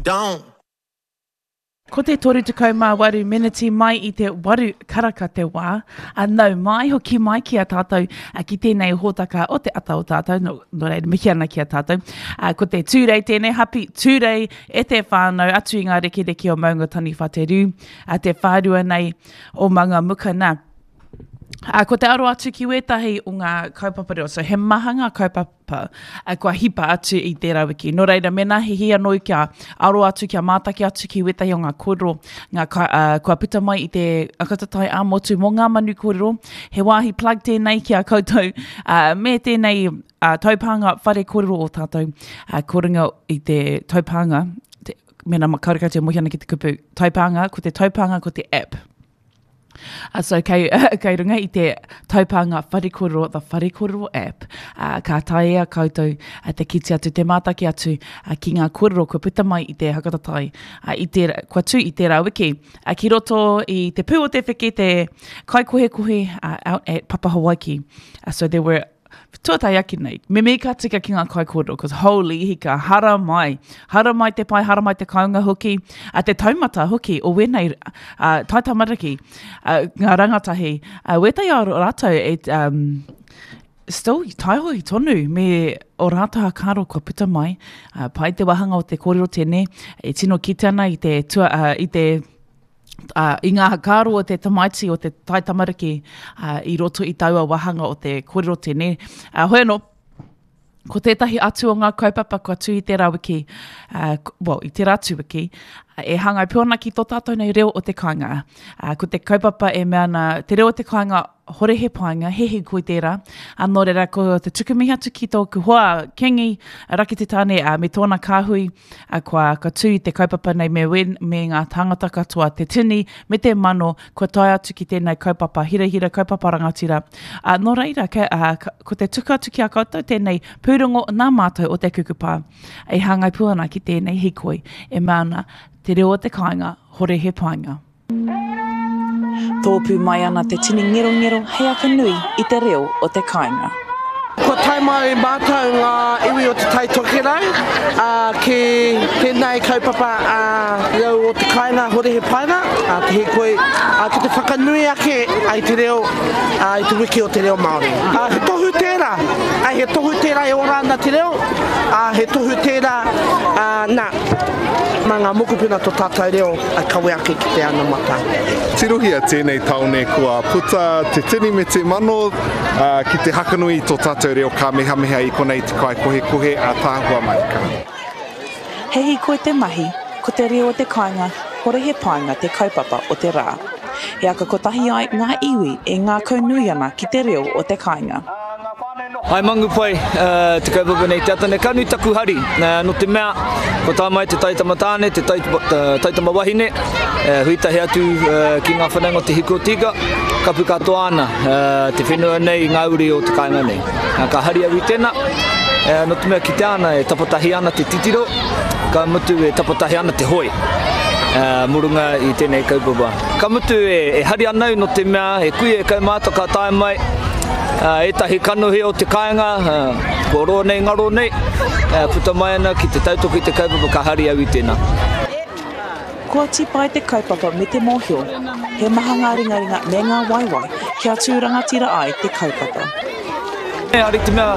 don't. Ko te 38 meneti mai i te waru karaka te wā. A nau mai, hoki mai ki a tātou ki tēnei hōtaka o te ata o tātou, nō, nō reira mihi ana ki a tātou. A, ko te Tūrei tēnei, hapi Tūrei e te whānau atu i ngā rekereke o Maunga Taniwha te Riu, a te whārua nei o Mangamuka nā. A, ko te aro atu ki wētahi o ngā kaupapa reo, so he maha ngā kaupapa a, kua hipa atu i tērā wiki. Nō reira, mēnā he hī anō kia aro atu, kia mātaki atu ki wētahi o ngā kōrero ngā ka, uh, kua puta mai i te akatatai ā-motu mō ngā manu kōrero, he wāhi plug tēnei ki a koutou, uh, me tēnei uh, taupānga whare kōrero o tātou, uh, ko runga i te taupānga, te, mēnā karekau te mohi ana ki te kupu taupānga, ko te taupānga ko te app. Uh, so kei, kei runga i te taupānga Whare Kōrero, the Whare Kōrero app, uh, ka taea koutou uh, te kite atu, te mātaki atu uh, ki ngā kōrero kua puta mai i te hakatatai, uh, i te, kua tū i tērā wiki. Uh, ki roto i te pū o te wheke, te kaikohekohe uh, out at Papa Hawaiki. Uh, so there were Tuatahi ake nei, me mihi ka tika ki ngā kaikōrero, cause holy hika, hara mai. Hara mai te pai, hara mai te kaunga hoki, a te taumata hoki o wēnei uh, taitamariki, uh, ngā rangatahi, uh, wētahi o rātou e, um, still taihohi tonu me o rātou hakaaro kua puta mai, uh, pai te wāhanga o te kōrero tēnei, e tino kite ana i te, tua, uh, i te ā, i ngā whakaaro o te tamaiti, o te taitamariki, ā, i roto i taua wāhanga o te kōrero tēnei. Ā, hoi anō, ko tētahi atu o ngā kaupapa kua tū i tērā wiki, ā, well, i tērā atu wiki, e hāngai pū ana ki tō tātou nei reo o te kāinga. Ā, ko te kaupapa e mea ana, te reo o te kāinga, hore he painga, he hīkoi tērā. Ā, nō reira, ko te tuku mihi atu ki tōku hoa, Kingi Rakitetane, ā, me tōna kāhui, ā, kua, kua tū i te kaupapa nei me wen, me ngā tāngata katoa, te tini me te mano, kua tae atu ki tēnei kaupapa hirahira, kaupapa rangatira. Ā, nō reira, ke, ā, ko te tuku atu ki a koutou tēnei pūrongo nā mātou o Te Kukupa e hāngai pū ana ki tēnei hīkoi e mea ana, te reo o te kāinga, hore he painga. Tōpū mai ana te tini ngerongero hei aka nui i te reo o te kāinga. Kua tae mai mātou ngā iwi o Te Tai Tokerau ki tēnei kaupapa a Reo o te Kāinga Hore He Painga, te hīkoi ki te whakanui ake i te reo i te wiki o te reo Māori. He tohu tērā, he tohu tērā e ora ana te reo, he tohu tērā, nā, mā ngā mokopuna tō tātou reo. I kawe ake ki te anamata. Tirohia tēnei taone kua puta te tini me te mano ki te hakanui i tō tātou reo kāmehameha i konei te kaikohekohe a Tāhua Marika. He hīkoi te mahi, ko te reo o te kāinga, hore he painga te kaupapa o te rā. He aka kotahi ai ngā iwi e ngākaunui ana ki te reo o te kāinga. Hai Mangupai te kaupapa nei te ata nei, ka nui taku hari, no te mea, ko tā mai te taitama tāne, te taitama wahine, hui tahi atu ki ngā whanaunga o te hiku o te ika, kapu katoa ana te whenua nei i ngā uri o te kāinga nei. Ka hari au i tēnā, no te mea kitea ana e tapatahi ana te titiro, ka mutu e tapatahi ana te hoe mō runga i tēnei kaupapa. Ka mutu e hari ana au no te mea he kuia e kaumātua ka tae mai, Ētahi kanohi o te kāinga, kua roa nei, ngaro nei, puta mai ana ki te tautoko i te kaupapa ka hari au i tēnā. Kua tīpae te kaupapa me te mōhio, he maha ngā ringaringa me ngā waewae kia tū rangatira ai te kaupapa. Ehara i te mea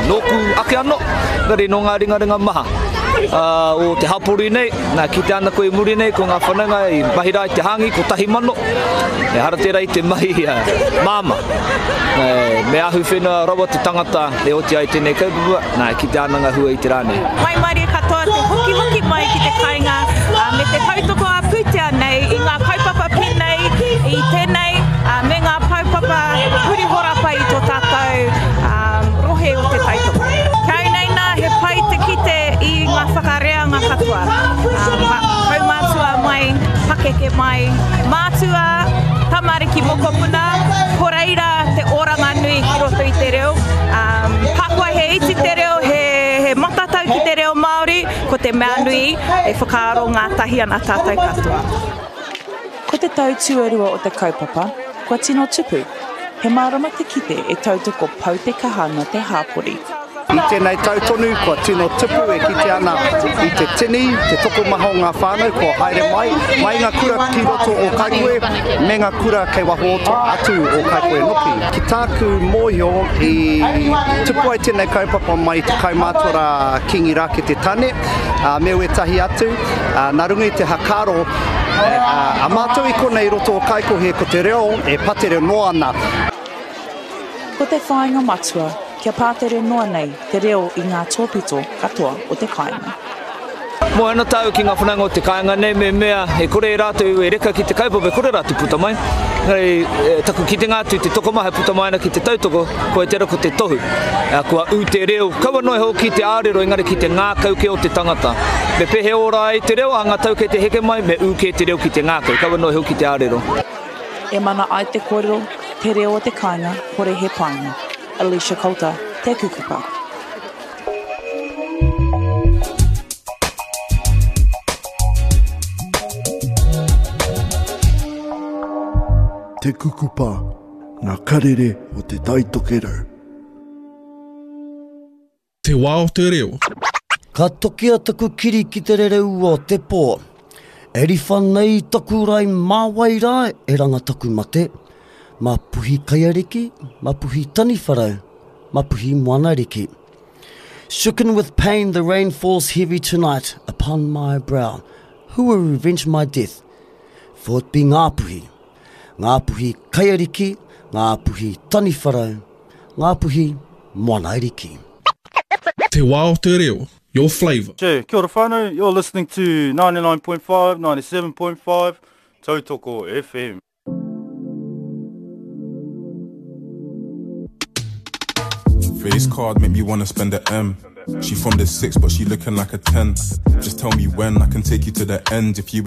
nōku ake anō, engari nō ngā ringaringa maha o te hapori nei, nā, kitea ana koe i muri nei ko ngā whanaunga i mahi rā i te hāngi 1000, Ehara tērā i te mahi māmā. Me ahu whenua rawa te tangata e oti ai tēnei kaupapa, nā, e kitea ana ngā hua i te rā nei. Waimarie katoa te hokihoki mai ki te kāinga me te tautoko ā-pūtea nei i ngā kaupapa pēnei i tēnei me ngā kaupapa huri horapa i tō tātou rohe o Te Taitokerau. Ki au nei nā, he pai te kite i ngā whakareanga katoa, kaumātua mai, pakeke mai, mātua, tamariki mokopuna, ko reira te oranga nui ki roto i te reo. Um, hakoa he iti te reo, he, he matatau ki te reo Māori, ko te mea nui e whakaaro ngātahi ana tātou katoa. Ko te tau tuarua o te kaupapa, kua tino tupu. He mārama te kite e tautoko pau te kaha ana te hāpori. I tēnei tau tonu kua tino tupu e kite ana i te tini, te tokomaha o ngā whānau kua haere mai, mai i ngā kura ki roto o Kaikohe me ngā kura kei waho atu o Kaikohe noki. Ki tāku mōhio i tupu ai tēnei kaupapa mai i te kaumātua rā Kingi Rakete Tane me wētahi atu, nā runga i te hakaaro a mātou i konei i roto o Kaikohe ko te reo e patere noa ana. Ko te whāinga matua, kia pātere noa nei te reo i ngā tōpito katoa o te kāinga. Moe ana tāu ki ngā whanaunga o te kāinga nei me mea e kore e rātou e reka ki te kaupapa, e kore rātou puta mai. Engari, taku kitenga atu te tokomaha e puta mai ana ki te tautoko, koia tērā ko te tohu. Kua ū te reo, kaua noa iho ki te ārero engari ki te ngākau kē o te tangata. Me pēhea ora ai te reo ā ngā tau kei te heke mai, me ū kē te reo ki te ngākau, kaua noa iho ki te ārero. E mana ai te kōrero, te reo o te kāinga, hore he painga. Alicia Coulter, Te Kukupa. Te Kukupa, ngā karere o Te Tai Tokerau. Te wā o te reo. Ka tokia taku kiri ki te rere ua o te pō. E riwha nei taku rae mā wai rā e ranga taku mate, mā Puhi Kaiariki, mā Puhi Taniwharau, mā Puhi Moanariki. Shooken with pain the rain falls heavy tonight upon my brow Who will revenge my death? For it be Ngāpuhi Ngāpuhi Kaiariki, Ngāpuhi Taniwharau, Ngāpuhi Moanairiki. Te wā o te reo, your flavour. Che, kia ora whanau, you're listening to 99.5, 97.5, Tautoko FM. Face card make me wanna spend a M. She from the six, but she looking like a 10. Just tell me when I can take you to the end. If you